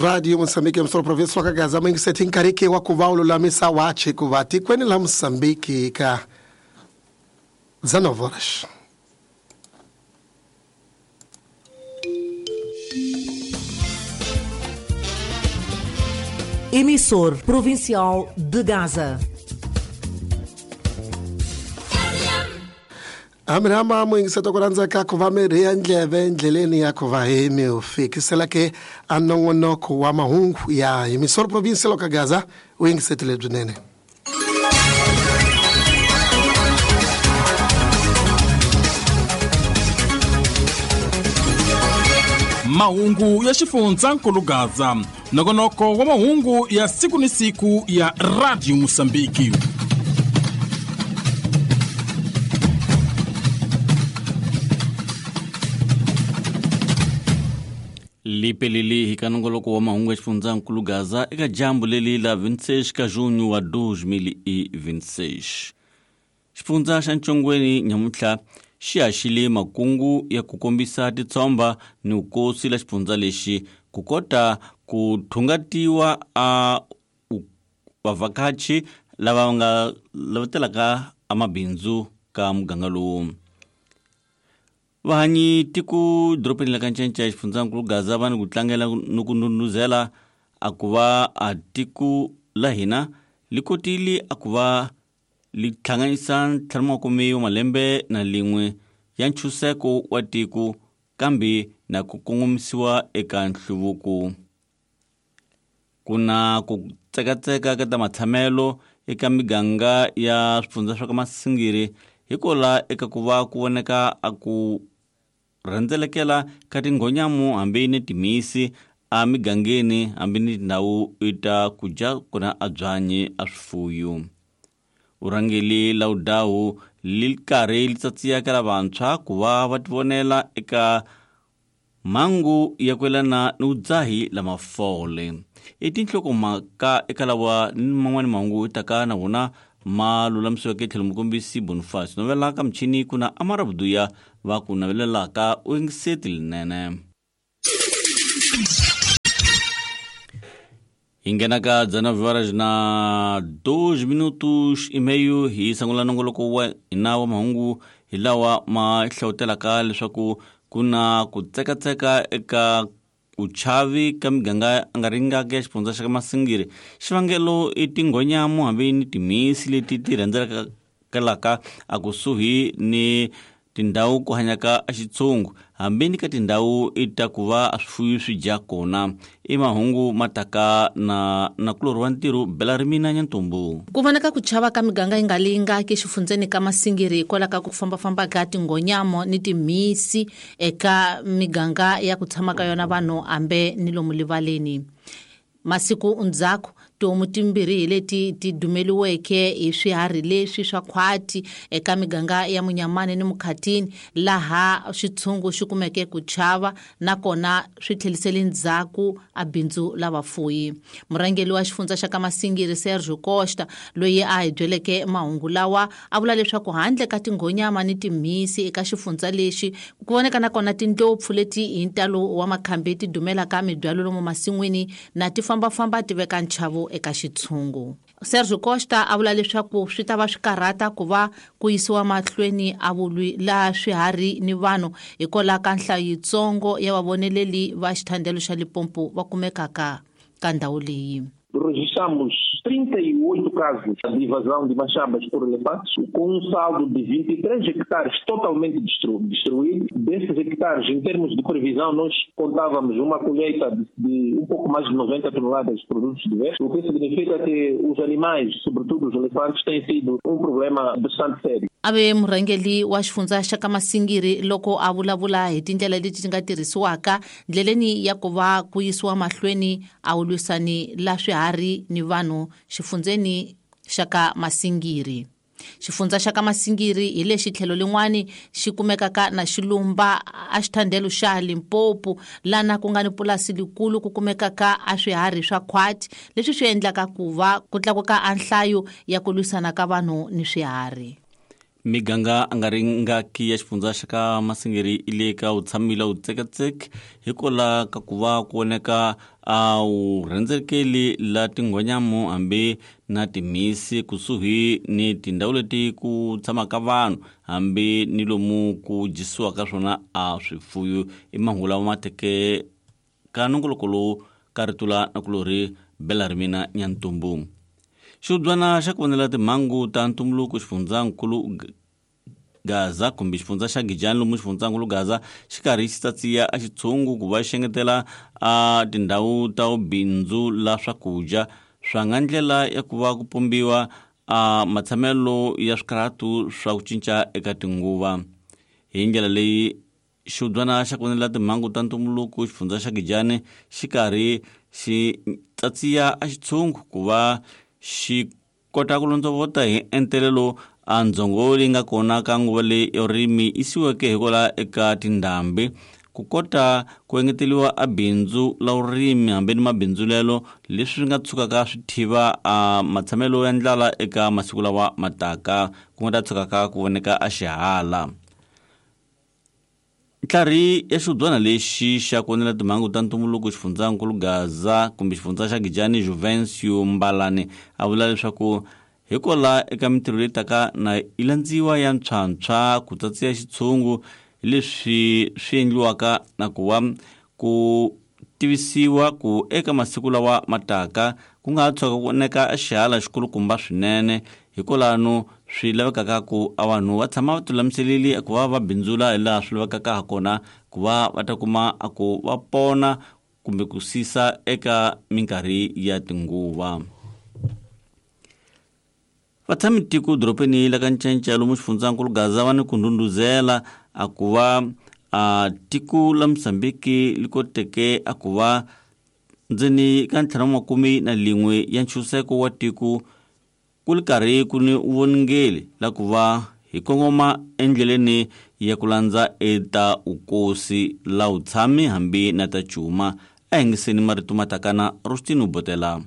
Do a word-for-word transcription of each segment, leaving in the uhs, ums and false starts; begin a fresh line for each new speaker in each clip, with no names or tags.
Radio Moçambique ya província wa Gaza mingiseti nkarhi wa ku va u lulamisa wachi ku va tikweni la Moçambique ka dezenove horas.
Emissor Provincial de Gaza.
Amrama mwingiseta ku rhandza ku va mirhi ya ndleve endleleni ya ku va hi mi fikisela ke a nongonoko wa mahungu ya Emissor Provincial ka Gaza u yingisetile byinene.
Mahungu ya xifundzankulu Gaza, nongonoko wa mahungu ya siku ni siku ya Radio Moçambique.
Lipeleli hi ka nongoloko wa mahungu ya xifundzankulu Gaza eka jambu leli la vinte e seis ka junho wa dois mil e vinte e seis. Xifundza xa Ntshongweni nyamuntlha xi haxile makungu ya ku kombisa titshomba ni vukosi la xifundza lexi ku kota ku thungatiwa a vavhakachi lava nga lava a mabindzu ka muganga lowu. Vahanyi tiku doropeni la ka Ncencce xifundzankulu Gaza va ni ku tlangela ni ku ndhundhuzela a ku va a tiku la hina li kotile a ku va li hlanganisa ntlhanu makume wa malembe na lin'we ya ntshunxeko wa tiko kambe na ku kongomisiwa eka nhluvuko. Ku na ku tsekatseka ka ta matshamelo eka miganga ya swifundza swa ka Masingiri hikola eka ku va ku voneka a ku rhendzelekela ka tinghonyamu hambi ni timhisi a migangeni hambi ni tindhawu ta ku dya kuna a byanyi a swifuyo. Urhangeli la udawu li karhi li tsatsiyaka lavantshwa ku va va tivonela eka mhangu ya ku yelana ni vudzahi la mafole. I tinhlokomhaka eka lawa ni man'wani mahungu taka na wona ma lulamisiweke tlhelo mukombisi Boniface novela ka michini ku na Amara Buduya va ku navelelaka u yingiseti linene. Hi nghena ka dezenove horas na dois minutos e meio hi sungula nongoloko wa hina wa mahungu hi lawa ma hlawutelaka leswaku ku na ku tsekatseka eka ku chavi ka miganga a nga ringaka ya xifundza xa ka Masingiri. Xivangelo i tinghonyamu hambi ni timhisi leti ti rhendzelekelaka a kusuhi ni tindhawu ku hanyaka a xitshungu hambi ni ka tindhawu i ta ku va a swifuyo swi dya kona. I mahungu ma taka na nakulorhi wa ntirho Bela Rimina Nyantumbu.
Ku vonaka ku chava ka miganga yi nga lingaki xifundzeni ka Masingiri hikwalaho ka ku fambafamba ka tinghonyamo ni timhisi eka miganga ya ku tshama ka yona vanhu hambi ni lomu rivaleni. Masiku ndzhaku tihomu timbirhi hi leti ti dumeliweke hi swiharhi leswi swa khwati eka miganga ya Munyamani ni Mukhatini laha xitshungu xi kumeke ku chava nakona swi tlhelisele ndzhaku a bindzu la vafuyi. Murhangeri wa xifundza xa ka Masingiri Sergio Costa loyi a hi byeleke mahungu lawa a vula leswaku handle ka tinghonyama ni timhisi eka xifundza lexi ku voneka nakona tindlopfu leti hi ntalo wa makhambi ti dumelaka mibyalo lomu masin'wini na ti fambafamba ti veka nchavo eka xitshungu. Sergio Costa a vula leswaku swi ta va swi karhata ku va ku yisiwa mahlweni a vulwi laha swiharhi ni vanhu hikwalaho ka nhlayo yitsongo ya vavoneleli va xithandelo xa Limpopo va kumekaka ka ndhawu leyi.
Registramos trinta e oito casos de invasão de machambas por elefantes, com um saldo de vinte e três hectares totalmente destru destruídos. Desses hectares, em termos de previsão, nós contávamos uma colheita de, de um pouco mais de noventa toneladas de produtos diversos, o que significa que os animais, sobretudo os elefantes, têm sido um problema bastante sério.
Ave murhangeri wa xifundza xa ka Masingiri loko a vulavula hi tindlela leti ti nga tirhisiwaka ndleleni ya ku va ku yisiwa mahlweni a wu lwisani la swiharhi ni vanhu xifundzeni xa ka Masingiri. Xifundza xa ka Masingiri hi lexi tlhelo lin'wani xi kumekaka na xilumba a xithandelo xa Limpopo lana ku nga ni pulasi likulu ku kumekaka a swiharhi swa khwati leswi swi endlaka ku va ku tlakuka a nhlayo ya ku lwisana ka vanhu ni swiharhi.
Miganga a nga ri ngaki ya xifundza xa ka Masingiri i le ka wutshami la wutseketseke hikwalaho ka ku va ku voneka a wu rhendzelekeli la tinghonyamo hambi na timhisi kusuhi ni tindhawu leti ku tshamaka vanhu hambi ni lomu ku dyisiwaka swona a swifuyo. I mahungu lawa ma teke ka nongoloko lowu ka ritula na kulorhi bela ri mina Nyantumbu. Xihubyana xa ku vonela timhangu ta ntumbuluko xifundzankulu Gaza kumbe xifundza xa Gijani lomu xifundzankulu Gaza xi karhi xi tsatsiya a xitshungu ku va xi engetela a tindhawu ta bindzu la swakudya swa nga ndlela ya ku va ku pombiwa a matshamelo ya swikarhatu swa ku cinca eka tinguva. Hi ndlela leyi xihubyana xa ku vonela timhangu ta ntumbuluko xifundza xa Gijani xi karhi xi tsatsiya a xitshungu ku va xi kota ku londzovota hi entelelo a ndzhongo leyi nga kona ka nguva leyi ya vurimi yisiweke hikwalaho eka tindhambi ku kota ku engeteriwa a bindzu la vurimi hambi ni mabindzulelo leswi swi nga tshukaka swi thiva a matshamelo ya ndlala eka masiku lawa mataka ku nga ta tshukaka ku voneka a xihala. Ntlhari ya xihubyana lexi xa ku vonela timhangu ta ntumbuluko xifundzankulu Gaza kumbe xifundza xa Gijani Juvencio Mbalane a vula leswaku hikwalaho eka mintirho leyi taka na yi landziwa ya ntshwantshwa ku tsatsiya xitshungu leswi swi endliwaka na ku va ku tivisiwa ku eka masiku lawa mataka ku nga ha tshuka ku voneka xihala xikulukumba swinene hikwalano swi lavekaka ku a vanhu va tshama va tilulamiseleli ku va va bindzula hi laha swi lavekaka ha kona ku va va ta kuma a ku va pona kumbe ku sisa eka minkarhi ya tinguva. Vatshami tiko doropeni la ka Ncenca lomu xifundzankulu Gaza va ni ku ndhundhuzela a ku va a tiko la Mozambique li koteke a ku va ndzeni ka ntlhanu wa makume na lin'we ya ntshunxeko wa tiko ku li karhi ku ni voningeli la ku va hi kongoma endleleni ya ku landza eta ukosi la wutshami hambi na ta cuma. A yingiseni marito ma takana Rostino Botela.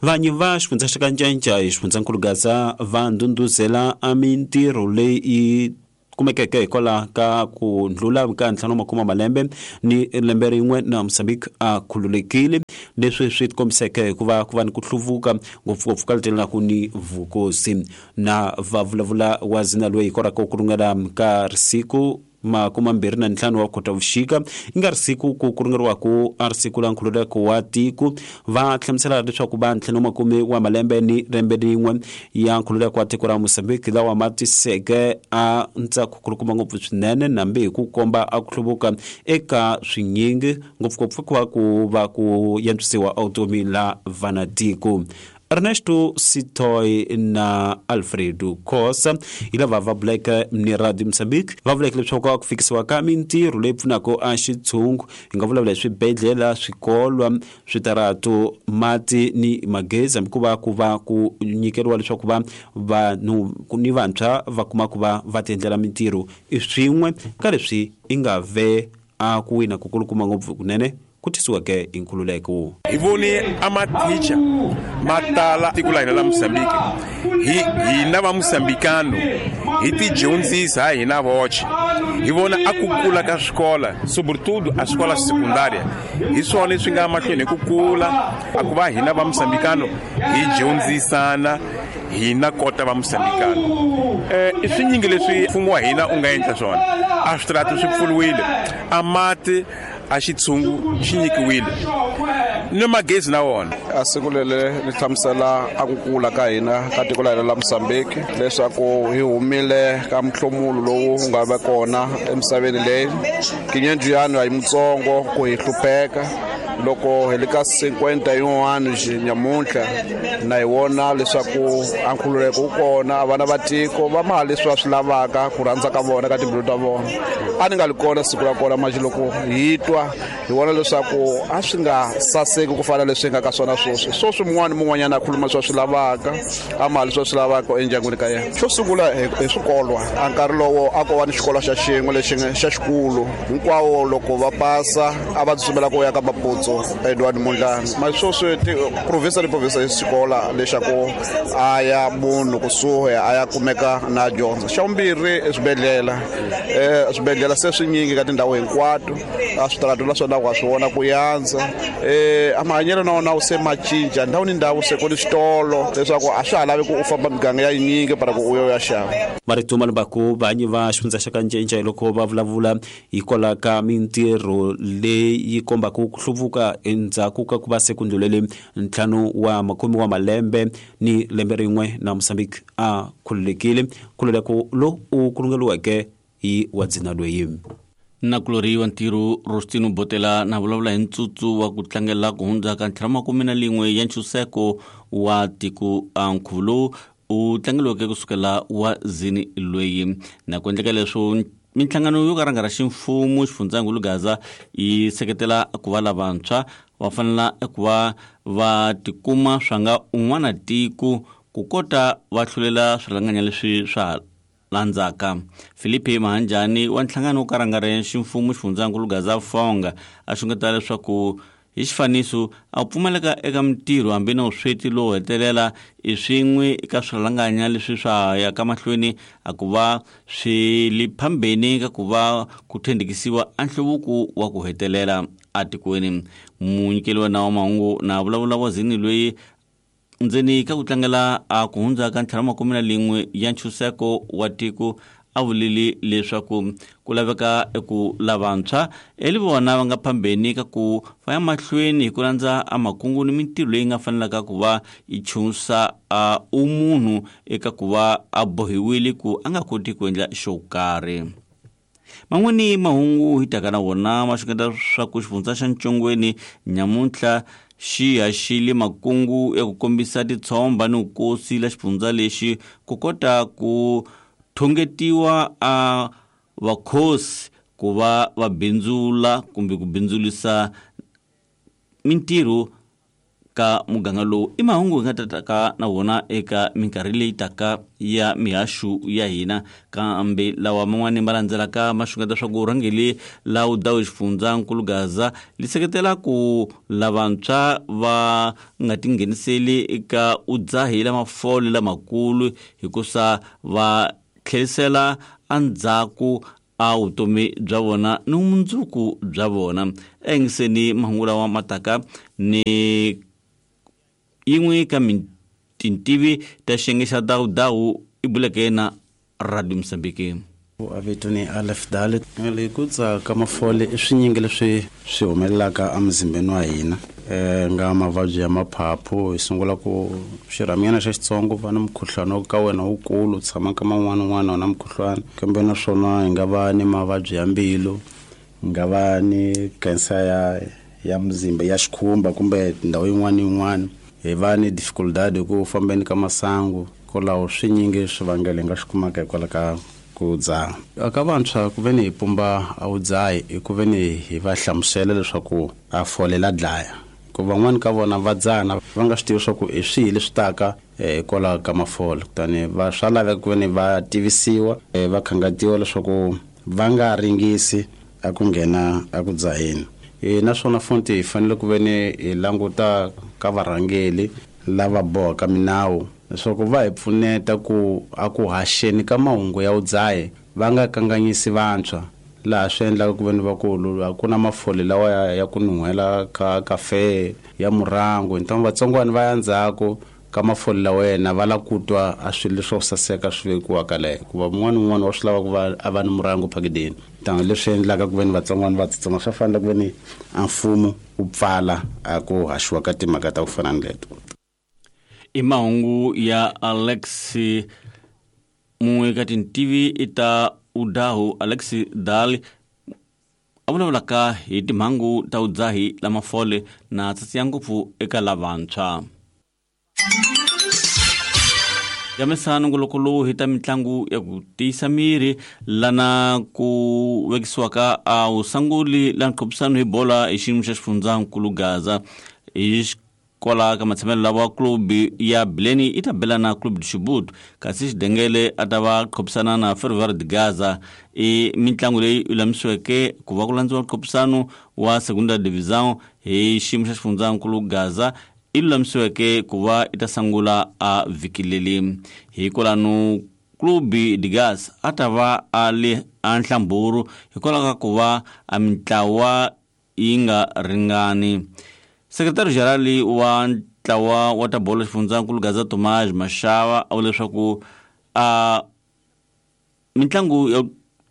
Vanyi va xifundza xa ka Ncenca hi xifundzankulu Gaza va ndhundhuzela a mintirho leyi kumekeke hikwalaho ka ku ndlula ka ntlhanu makume malembe ni lembe rin'we na Mozambique a khululekile, leswi swi tikombiseke hikuva ku va ni ku hluvuka ngopfungopfu ka letelaka ni vukosi. Na va vulavula wa zina loyi hikwalaho ku rungela ka risiku makumi mambirhi na ntlhanu wa Khotavuxika i nga ri siku ku ku ringeriwaku a ri siku la nkhululeko wa tiko, va hlamusela leswaku va ntlhanu makume wa malembe ni lembe rin'we ya nkhululeko wa tiko ra Mozambique lawa ma tiseke a ntsako kulukumba ngopfu swinene nambi hi ku komba a ku hluvuka eka swinyingi ngopfungopfu ku va ku va ku yantswisiwa vutomi la vanatiko. Ernesto Sitoy na Alfredo Khosa hi lava va vuleke ni Radio Mozambique va vuleke leswaku ku fikisiwa ka mintirho leyi pfunaka a xitshungu hi nga vulavula hi swibedhlele, swikolo, switarato, mati ni magezi, hambi ku va ku va ku nyikeriwa leswaku va vanhu ni vantshwa va kuma ku va va tiendlela mintirho i swin'we ka leswi i nga ve a ku wina ku kulukuma ngopfu kunene ku tisiweke hi nkhululeko.
Hi vone a mathicha ma tala tiko la hina la Mozambique, hi hina va Mozambicano hi tidyondzisa ha hina voxe, hi vona a ku kula ka swikola sobretudo a swikola swa sekundaria hi swona leswi nga mahlweni hi ku kula a ku va hina va Mozambicano hi dyondzisana hina kota va Mozambicano. Eh i swinyingi leswi mfumo wa hina u nga endla swona, a switarata swi pfuriwile, a mati a xitshungu xi nyikiwile ni magezi na wona.
A siku leri ri hlamusela a ku kula ka hina ka tiko la hina la Mozambique leswaku hi humile ka mihlomulo lowu nga va kona emisaveni leyi. Kinyenjuyani a hi mutsongo ku hi hlupheka loko hi le ka cinquenta yin'wana nyamuntlha na hi vona leswaku a nkhululeko wu kona, vana va tiko va ma leswi va swi lavaka ku rhandza ka vona ka timbilu ta vona. A ni nga li kona siku ra kona manjhe loko hi twa hi vona leswaku a swi nga saseki ku fana leswi nga ka swona sweswi. Sweswi mun'wana mun'wanyana a khuluma leswi a swi lavaka, a ma leswi a swi lavaka endyangwini ka yena. Xo sungula hi swikolwa, a nkarhi lowo a ko va ni xikolo xa xin'we lexi xa xikulu, hinkwawo loko va pasa a va tsutsumela ku ya ka Maputsu. Alfonso Edward Mondlane. Masweswi province ni province yi xikola lexaku a ya munhu kusuhi a ya kumeka na dyondzo. Xa vumbirhi i swibedhlele, um swibedhlele se swinyingi ka tindhawu hinkwato, a switarata la swona wa swi vona ku yandza. Um a mahanyelo na wona wu se ma cinca ndhawu ni ndhawu, se ku ni switolo leswaku a swa ha lavi ku u famba miganga ya yinyingi para ku u yo ya xava.
Marito ma lumbaku vanyi va xifundza xa ka Ncinca loko va vulavula hikwalaho ka mintirho leyi kombaka ku hluvuka endzhaku ka ku va se ku ndlulele ntlhanu wa makume wa malembe ni lembe rin'we na Mozambique a khululekile nkhululeko lowu u kulungeliweke hi wa dzina loyi.
Nakulori wa ntirho Rostino Botela na vulavula hi ntsutsu wa ku tlangela ku hundza ka ntlhanu makume na lin'we ya ntshunxeko wa tiko. Nkhuvo lowu u tlangeliweke kusukela wa zini loyi na ku endleka leswo minhlangano yo ka rhanga ra ximfumo xifundzankulu Gaza yi seketela ku va lavantshwa va fanela ku va va tikuma swa nga un'wana tiko ku kota va hlulela swirhanganya leswi swa landzaka. Filipe Mahanjani wa nhlangano wo ka rhanga ra ximfumo xifundzankulu Gaza Fonga a xungeta leswaku hi xifaniso a pfumaleka eka mintirho hambi na vusweti lowu hetelela i swin'we eka swirhalanganya leswi swa ya ka mahlweni a ku va swi li phambeni ka ku va ku thendekisiwa a nhluvuko wa ku hetelela atikweni. Munyikeli wa nawu wa mahungu na vulavula wa zini loyi ndzeni ka ku tlangela a ku hundza ka ntlhanu makume na lin'we ya ntshunxeko wa tiko a vulile leswaku ku laveka eku lavantshwa eli vona va nga phambeni ka ku va ya mahlweni hi ku landza a makungu ni mintirho leyi nga fanelaka ku va yi chunsa a umunhu eka ku va a bohiwile ku a nga koti ku endla xo karhi. Man'wani mahungu hi taka na wona ma xungeta swa ku xifundza xa Ntshongweni nyamuntlha xi haxile makungu ya ku kombisa titshomba ni vukosi la xifundza lexi ku kota ku thongetiwa a vakhosi ku va va bindzula kumbe ku bindzulisa mintirho ka muganga lowu. I mahungu hi nga tataka na wona eka minkarhi leyi taka ya mihaxu ya hina, kambe lawa man'wani ma landzelaka ma xungeta swa ku rhangeli la wu dawu xifundzankulu Gaza li seketela ku lavantshwa va nga tingheniseli eka udzahi la mafole lamakulu hikusa va tlherisela endzhaku a vutomi bya vona ni vumundzuku bya vona. Engiseni mahungu lawa ma taka ni yin'we ka tintivi ta xiyenge xa dawudawu i buleke na Radio Mozambique.
A vito ni Alef Dalit. Le ku tsaka mafole i swinyingi leswi swi humelelaka emuzimbeni wa hina, um nga mavabyi ya maphaphu hi sungula ku xirhaminyana xa xitsongo va na mukhuhlwana ka wena wukulu u tshama ka man'wana un'wana na mukhuhlwana, kambe naswona hi nga va ni mavabyi ya mbilu, hi nga va ni cancer ya ya muzimba ya xikhumba kumbe ndhawu yin'wana ni yin'wana, hi va ni dificultad ku fambeni ka masangu. Kwalaho swinyingi swivangelo hi nga swi kumaka hikwalaho ka ku dzaha. Eka vantshwa ku ve ni hi pumba a wu dzahi i ku ve ni hi va hlamusela leswaku a fole la dlaya, ku van'wani ka vona va dzahana va nga swi tivi leswaku i swihi leswi taka hikwalaho ka mafole, kutani va swa laveka ku ve ni va tivisiwa va khangatiwa leswaku va nga ringisi a ku nghena a ku dzaheni. E naswona futhi hi fanele ku ve ni hi languta ka varhangeli lava bohaka minawu leswaku va hi pfuneta ku a ku haxeni ka mahungu ya vudzahi va nga kanganyisi vantshwa, laha swi endlaka ku ve ni vakulu a ku na mafole lawa ya, ya ku nuhela ka kafe ya murangu ntango vatsongwana va ya ndzhaku ka mafole lawa yena va lava ku twa a swilo leswo saseka swi vekiwaka leyo, hikuva mun'wana ni un'wana wa swi lava ku va a va ni murangu phakideni. Ntango leswi endlaka ku ve ni vatsongwana va tsutsuma swa fanele ku ve ni a mfumo wu pfala a ku haxiwa ka timhaka ta ku fana ni leto.
I mahungu ya Alex mun'we ka tintivi i ta udahu Alex Dali a vulavulaka hi timhangu ta vudzahi la mafole na tsatsi ya ngopfu eka lavantshwa. Yamesa nongoloko lowu hi ta mitlangu ya ku tiyisa miri lana ku vekisiwaka a wusanguli la nqophisano hi bola hi xiyimo xa xifundzankulu Gaza hi Kwala ka matshamelo lawa club ya Bileni yi ta bela na Club de Chibuto, kasi Xidengele a ta va khopisana na Ferroviário de Gaza. I mitlangu leyi lulamisiweke ku va ku landziwa nkhopisano wa Segunda Divisão hi xiyimo xa xifundzankulu Gaza, i lulamisiweke ku va i ta sungula a vhiki leri. Hikwalano Club de Gaza a ta va a le a nhlamburu hikwalaho ka ku va a mintlawa yi nga ringani. Sekretari General wa ntlawa wa ta bolo xifundzankulu Gaza Tomás Mashava a vula leswaku a mitlangu ya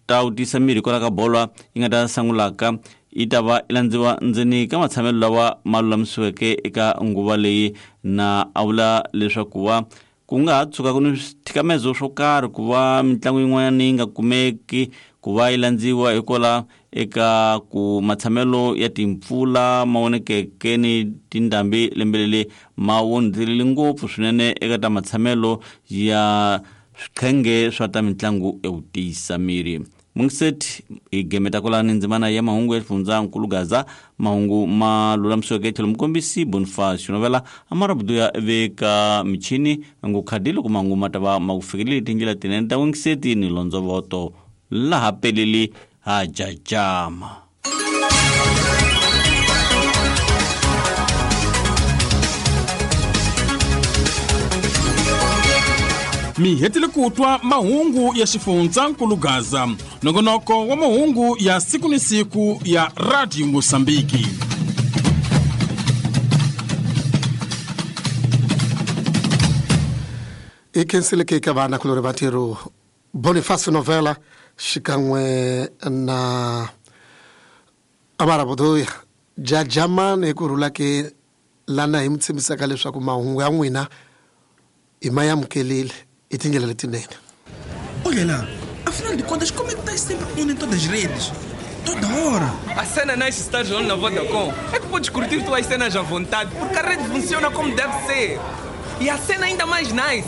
ta wu tisa miri hikwalaho ka bolo yi nga ta sungulaka yi ta va yi landziwa ndzeni ka matshamelo lawa ma lulamisiweke eka nguva leyi, na a vula leswaku va ku nga ha tshuka ku ni swithikamezo swo karhi ku va mitlangu yin'wanyana yi nga kumeki ku va yi landziwa hikwalaho eka ku matshamelo ya timpfula ma vonekeke ni tindhambi lembe leri ma wondzirile ngopfu swinene eka ta matshamelo ya swiqhenge swa ta mitlangu ya ku tiyisa miri. Mungiseti hi gemeta kwalani ndzimana ya mahungu ya xifundzankulu Gaza, mahungu ma lulamisiweke tlhelo mukombisi Boniface Novela amarabudu ya veka michini ngo khadi loko mahungu ma ta va ma ku fikeleli tindlela tinene ta Mungiseti ni Londzovoto laha peleli ha jajama.
Mi hetile ku twa mahungu ya xifundzankulu Gaza, nongonoko wa mahungu ya siku ni siku ya Radio Mosambiki.
I khenseleke ka vana kulori vatirho Boniface Novela xikan'we na Amarabuduya jajamani hi ku rhula ke lana hi mi tshembisaka leswaku mahungu ya n'wina i ma amukelile i tindlela letinene.
Olha lá, afinal de contas, como é que estás sempre on em todas as redes? Toda hora.
A cena nice estás on na Vodacom é que podes curtir tuas cenas à vontade, porque a rede funciona como deve ser. E a cena ainda mais nice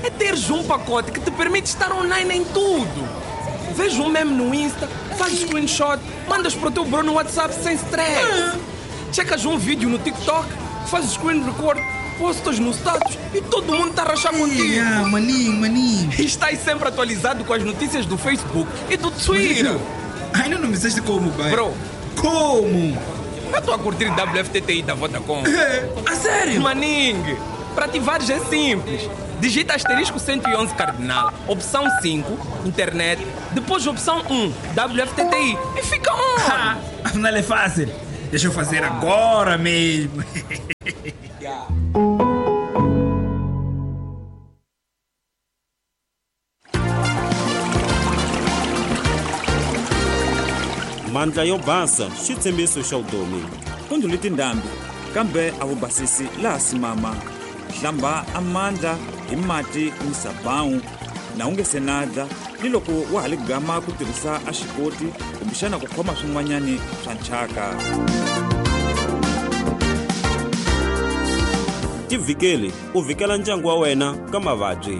é teres um pacote que te permite estar online em tudo. Vês um meme no Insta, fazes screenshot, mandas para o teu bro no WhatsApp sem stress. Checas um vídeo no TikTok, fazes screen record, postas no status e todo mundo está a rachar contigo.
Ah, maninho, maninho.
E estás sempre atualizado com as notícias do Facebook e do Twitter.
Ainda não me disseste como, pai.
Bro.
Como?
Eu estou a curtir W F T T I da Vodacom.
A sério?
Maninho, para ativares é simples. Digita asterisco cento e onze cardinal, opção cinco, internet, depois opção um, W F T T I e fica on.
Afinal é fácil. Deixa eu fazer agora mesmo.
Yeah.
Mandla yo basa xitshembiso xa vutomi.
Ku ndlule tindhambi kambe a wu basisi laha simama. Hlamba amandla hi mati ni sabawu na u nge se na dla ni loko wa ha li gama ku tirhisa a xikoti kumbexana ku khoma swin'wanyani swa nchaka.
Tivhikeli u vhikela ndyangu wa wena ka mavabyi.